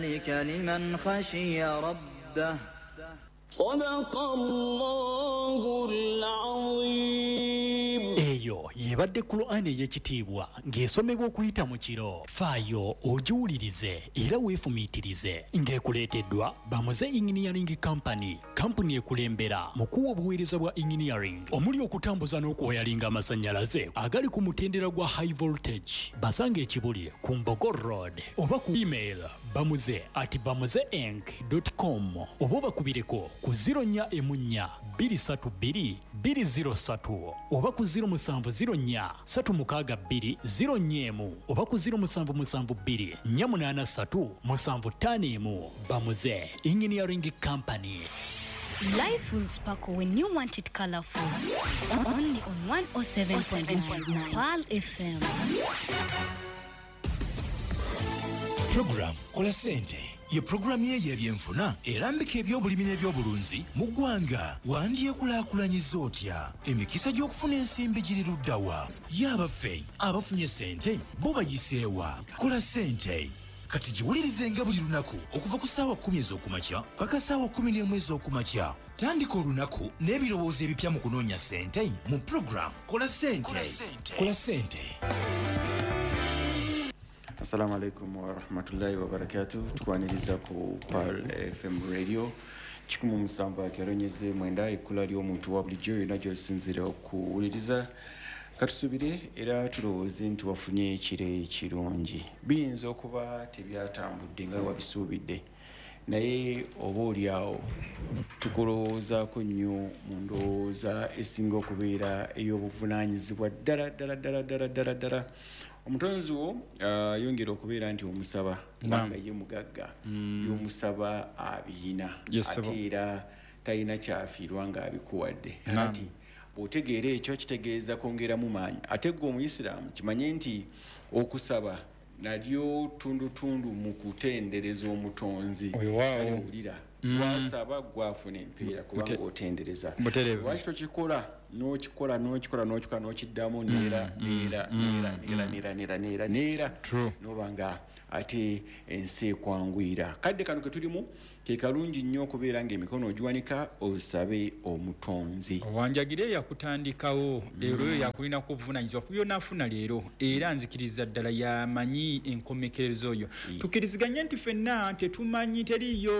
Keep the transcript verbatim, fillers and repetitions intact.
ذلك لمن خشي ربه. صدق الله العظيم. Eyo yebadde Qur'ani ey'ekitiibwa ng'esomebwa okuyita mu kiro. Faayo ogiwulirize era weefumiitirize, ng'ekuleeteddwa Bamuze Engineering Company, kampuni ekulembera mu kuwa obuweereza bwa engineering omuli okutambuza n'okuwayalinga amasannyalaze agali ku mutendera gwa high voltage. Basanga ekibuli ku Mbogo Road oba ku email bamuze at bamuze inc com oba obakubireko ku zero nnya emu nnya bbiri ssatu bbiri bbiri zero ssatu oba ku zero musanvu zero nnya ssatu mukaaga bbiri zero nnya emu oba ku zero musanvu musanvu bbiri nnya munaana ssatu musanvu ttaano emu. Bamuze Engineering Company. Life will sparkle when you want it colorful. Only on one oh seven point nine Pearl F M. Program Kola Sente ye puroguramu ye ey'ebyenfuna erambika ebyobulimi n'ebyobulunzi mu ggwanga. Wandyekulaakulanyiza otya? Emikisa gy'okufuna ensimbi giri luddawa? Ye abaffe, abafunye sente bo bayiseewa? Kola Sente kati giwulirizenga buli lunaku okuva ku ssaawa kkumi ez'okumakya paka ssaawa kkumi n'emu ez'okumakya. Tandika olunaku n'ebirowoozo ebipya mu kunoonya sente mu program Kola Sente. Kola Sente. Assalamu alaikum warahmatullahi wabarakatu. Tukwaniriza ku Pearl F M Radio kikumi musanvu akeronyeze mwenda, ekkula ly'omuntu wa bulijjo. Yonna gy'osinzira okuwuliriza, katusubire era tulowooze nti wafunye ekiro ekirungi. Biyinza okuba tebyatambudde nga wabisuubidde, naye oba oliawo tukulowoozaako nnyo mu ndowooza esinga okubeera ey'obuvunaanyizibwa ddala ddala ddala ddala ddala ddala. Omutonzi wo ah, yongera okubeera nti omusaba, kubanga ye mugagga, by'omusaba abiyina. Yes, sir. Ate era talina kyafiirwa ng'abikuwadde. Kakati bw'otegeera ekyo, kitegeeza kwongeramu maanyi. Ate gwe Omuyisiraamu, kimanye nti okusaba nalyo tundutundu mu kutendereza Omutonzi. Oyo waawo. Kale wulira, gwasaba gwafuna empeera kubanga Bute- otendereza. Butereevu. Lwaki tokikola n'okikola n'okikola n'okikola n'okiddamu neera neera neera neera neera neera neera neera, True. noba nga ate ensi ekwanguyira? Kadde kano ke tulimu ke kalungi nnyo okubeera ng'emikono ogiwanika osabe Omutonzi. Owanjagire yakutandikawo leero, oyo yakulinako obuvunanyizibwa ku byonaafuna leero, era nzikiriza ddala yamanyi enkomekerezo oyo. Tukkiriziganye nti ffenna tetumanyi, teriiyo.